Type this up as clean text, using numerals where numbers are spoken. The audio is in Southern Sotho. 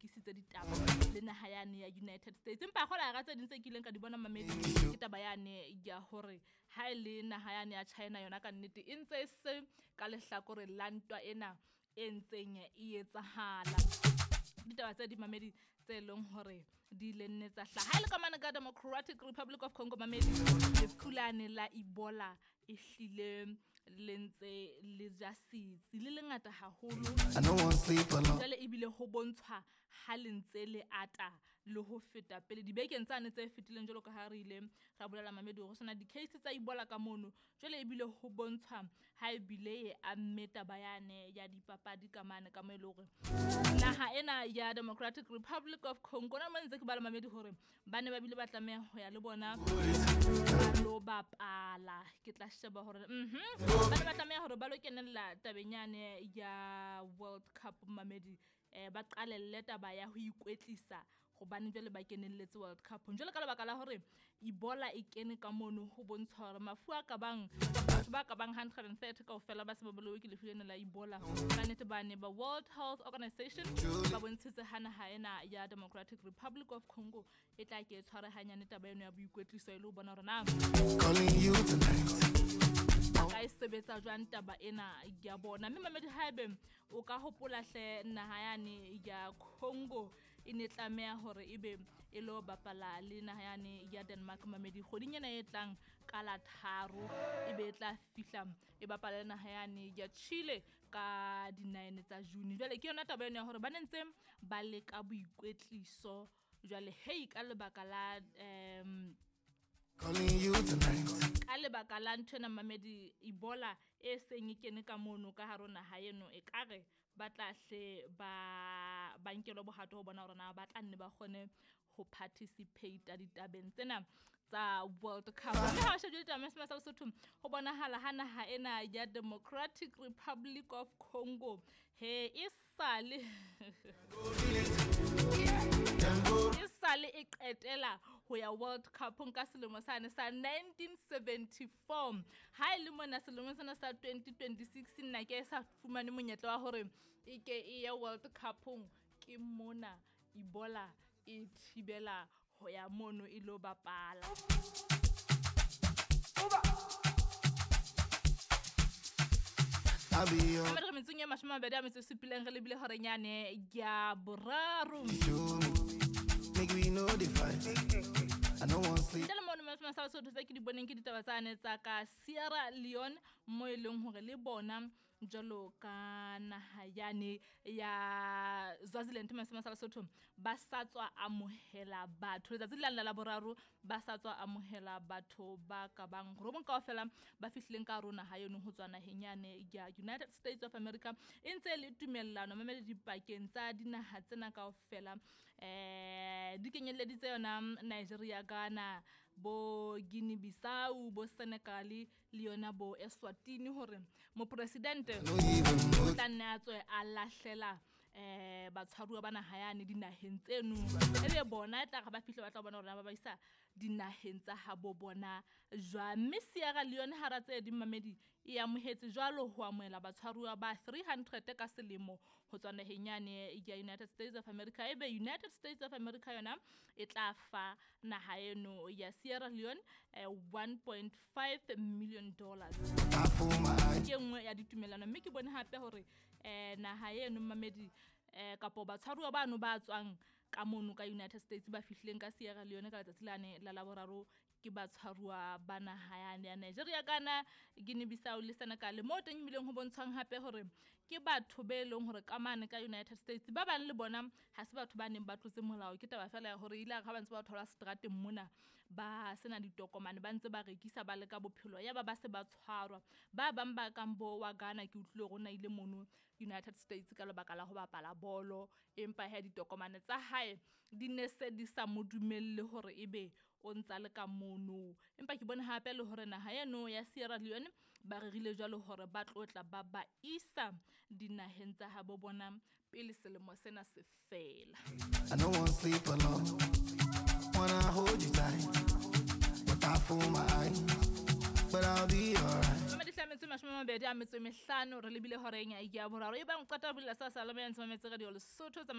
lokisitse ditaba le naha yane ya United States. Empa kgola hara tse ding tse kileng ka di bona mamedi ke taba yane ya hore ha e le naha yane ya China yona ka nnete e ntse e se ka lehlakore la ntwa ena e ntseng e etsahala. Ditaba tse di mamedi tse leng hore di ile nne tsa hlaha. Ha e le ka mane ka Democratic Republic of Congo mamedi, lefu lane la Ebola e hlile le ntse le ja setsi le lengata haholo. I no want sleep alone. Jwale ebile ho bontshwa ha le ntse le ata le ho feta pele dibekeng tsane tse fetileng, jwalo ka ha re ile ra bolela mamedi hore ho sena di-case tsa Ebola ka mono. Jwale ebile ho bontshwa ha ebile e amme taba yane ya dipapadi ka mane ka mo e le hore naha ena ya Democratic Republic of Congo na mo ntse ke bala mamedi hore ba ne ba bile ba tlameha ho ya le bona ba lo bapala. Ke tla sheba hore ba ne ba tlameha hore ba lo kenella tabeng yane ya World Cup mamedi, ba qalelle taba ya ho ikwetlisa hobane jwale ba kenelletse World Cup. Jwale ka lebaka la hore Ebola e kene ka mono, ho bontsha hore mafu a ka bang batho ba ka bang 130 kaofela ba se ba bolauwe ke lefu lena la Ebola. Ka nnete ba ne ba World Health Organization ba bontshitse ha naha ena ya Democratic Republic of Congo e tla ke e tshware hanyane taba eno ya boikwetliso e le ho bona hore na Calling you tonight. ka e sebetsa jwang taba ena ya bona. Mme mamedi, haebe o ka hopola hle naha yane ya Congo e ne tlameha hore ebe e lo bapala le naha yane ya Denmark mamedi kgweding ena e tlang ka la 3, ebe e tla fihla e bapala le naha yane ya Chile ka di-9 tsa June. Jwale ke yona taba eno ya hore ba ne ntse ba leka boikwetliso jwale hei ka lebaka la Calling you tonight. Ka lebaka la nthwena mamedi Ebola e seng e kene ka mono ka hare ho naha eno, e kare ba tla hle ba nkelwe bohato ho bona hore na ba tla nne ba kgone ho participate ditabeng tsena tsa World Cup. Mme ha o shebile ditaba sa Lesotho, ho bonahala ha naha ena ya Democratic Republic of Congo he e sale e qetela ho ya World Cup ka selemo sane sa 1974. Ha e le mona selemo sena sa 2026 nna ke sa fumane monyetla wa hore e ke e ya World Cup-ong, ke mona Ebola e thibela ho ya mono e lo bapala. I'll be your Mamedi, re metsong e 27 re lebile horeng yane ya boraro. Show me, make we know the fight. I no want sleep. Ntle le mono mashome sa Lesotho tse ke di boneng ke ditaba tsane tsa ka Sierra Leone mo e leng hore le bona jwalo ka naha yane ya Swaziland mashome sa Lesotho ba sa tswa amohela batho letsatsi le la boraro, ba sa tswa amohela batho ba ka bang robong kaofela ba fihlileng ka hare ho naha eno ho tswa naheng yane ya United States of America. E ntse le tumellano mamedi dipakeng tsa dinaha tsena kaofela, di kenyelleditse yona Nigeria, Ghana, bo Guinea Bissau, bo Senegal le yona bo Eswatini hore mopresidente No even know. o tla nne a tswe a lahlela batshwaruwa ba naha yane dinaheng tseno, ebe bona e tla re ba fihle ba tla bona hore na ba ba isa dinaheng tsa habo bona jwang. Mme Sierra Leone hara tse ding mamedi e amohetse jwalo ho amohela batshwaruwa ba 300 ka selemo ho tswa naheng yane ya United States of America. Ebe United States of America yona e tla fa naha eno ya Sierra Leone $1.5 million. I fool my eyes. Ke nngwe ya ditumellano. Mme ke bone hape hore naha eno mamedi kapo batshwaruwa bano ba tswang ka mono ka United States ba fihlileng ka Sierra Leone ka letsatsi lane la Laboraro ke batshwaruwa ba naha yane ya Nigeria, Ghana, Guinea Bissau le Senegal. Mo teng ebileng ho bontshwang hape hore ke batho be leng hore ka mane ka United States ba bang le bona ha se batho ba neng ba tlotse molao, ke taba fela ya hore ile ha ba ntse ba thola seterateng mona ba sena ditokomane, ba ntse ba rekisa ba leka bophelo, ya ba ba se ba tshwarwa. Ba bang ba kang bo wa Ghana ke utlwile hore o na ile mono United States ka lebaka la ho bapala bolo, empa he ditokomane tsa hae di ne se di sa mo dumelle hore ebe o ntsa le ka mono. Empa ke bone hape le hore naha eno ya Sierra Leone ba rerile jwalo hore ba tlo tla ba ba isa dinaheng tsa habo bona pele selemo sena se fela. I no want sleep alone. Wanna hold you tight, but I fool my eyes. But I'll be alright. Mamedi hlametso 25 re lebile horeng ya boraro. E bang o qeta ho bulela sa salama ya ntse mametse radio Lesotho tsa